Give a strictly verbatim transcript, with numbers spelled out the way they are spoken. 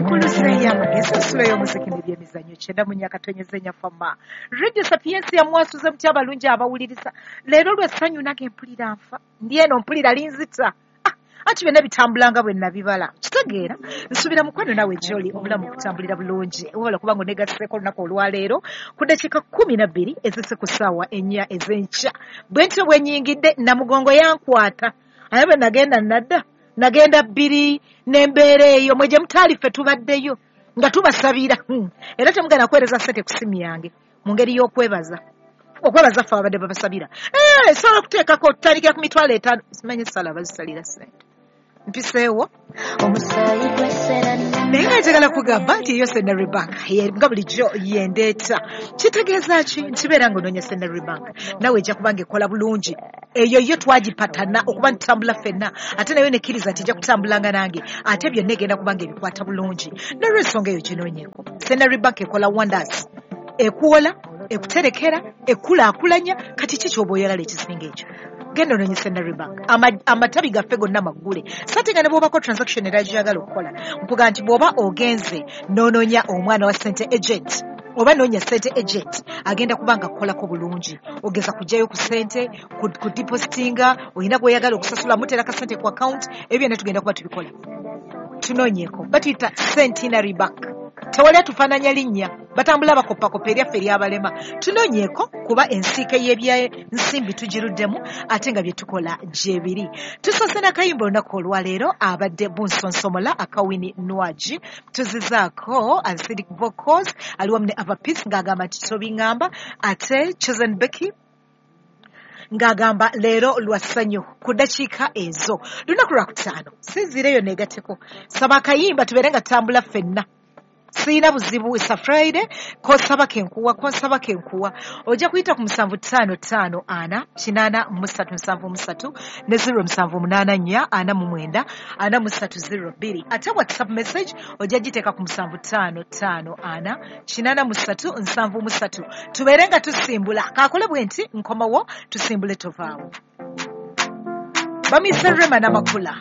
Enkuluze y'amagezi, ensulo y'omuziki n'ebyemizannyo, kyenda mu nnya katonyeze nnyafama. Radio Sapientia, mwasuze mutya abalungi abawuliriza? Leero lw'essanyu, nange mpulira nfa, ndi eno mpulira linzita. Ah, anti byonna bitambulanga bwe nabibala, kitegeera. Nsuubira mukwano naawe gy'oli obulamu kutambulira bulungi, wabula kubanga oneegasseeko olunaku olwaleero ku ddakiika kkumi na bbiri ezise ku ssaawa ennya ez'enkya. Bwe ntyo bwe nnyingidde, Namugongo yankwata, aye bwe nagenda nadda nagenda bbiri n'embeera eyo mwe gye mutaali, ffe tubaddeyo nga tubasabira. Hmm. Era temugenda kuweereza ssente ku simu yange mu ngeri y'okwebaza, okwebaza ffe ababadde babasabira. Eh, sobola okuteekako tutandikira ku mitwalo etaano, simanyi essala bazisalira ssente mpiseewo. Omusaayi gwesera. Naye nga njagala kugamba nti eyo Centenary Bank ye- nga bulijjo yendeeta. Kitegeeza ki? Nkibeera nga onoonya Centenary Bank, naawe ejja kuba nga ekola bulungi. Eyo yo twagipatana okuba ntitambula ffenna, ate nayo nekkiriza nti ejja kutambulanga nange, ate byonna egenda kuba nga ebikwata bulungi. Nolwensonga eyo ginoonyeeko. Centenary Bank ekola wonders, ekuwola, ekuterekera, ekulaakulanya. Kati ki kyoba oyagala ekisinga ekyo? Genda onoonye Centenary Bank. Ama- amatabi gaffe gonna maggule sate nga ne bw'obako transaction era gy'oyagala okukola, nkuga nti bw'oba ogenze n'onoonya omwana wa sente agent oba noonya sente agent, agenda kuba nga kukolako bulungi. Ogeza kugyayo ku sente, ku, ku depositinga, olina gw'oyagala okusasula, muteera ka sente ku account, ebyo byonna tugenda kuba tubikola. Tunoonyeeko, batuyita Centenary Bank. Tewali atufaananya linnya, batambula bakoppakopa eryaffe eryabalema. Tunoonyeeko kuba ensiike y'ebyensimbi tugiruddemu, ate nga bye tukola gye biri. Tusoose n'akayimba olunaku olwaleero, abadde bunsonsomola akawini nwagi, tuzizaako Acidic Vocals ali wamu ne Ava Peace ng'agamba nti tobiŋŋamba, ate Chosen Becky ng'agamba leero lwa ssanyu. Ku ddakiika ezo lunaku lwakutaano, sinziireyo neegatteko, saba akayimba tubeere nga tutambula ffenna. Siina buzibu, isa Friday, kosaba kenkuwa, kosaba kenkuwa. Ojja kuyita ku musanvu ttaano ttaano ana kinaana mu ssatu nsanvu mu ssatu ne zero musanvu munaana nnya ana mu mwenda ana mu ssatu zero bbiri. Ate WhatsApp message ojja giteeka ku musanvu ttaano ttaano ana kinaana mu ssatu nsanvu mu ssatu, tubeere nga tusimbula. Kaakole bwe nti nkomawo, tusimbule, tovaawo. Bamuyise Rema Namakula.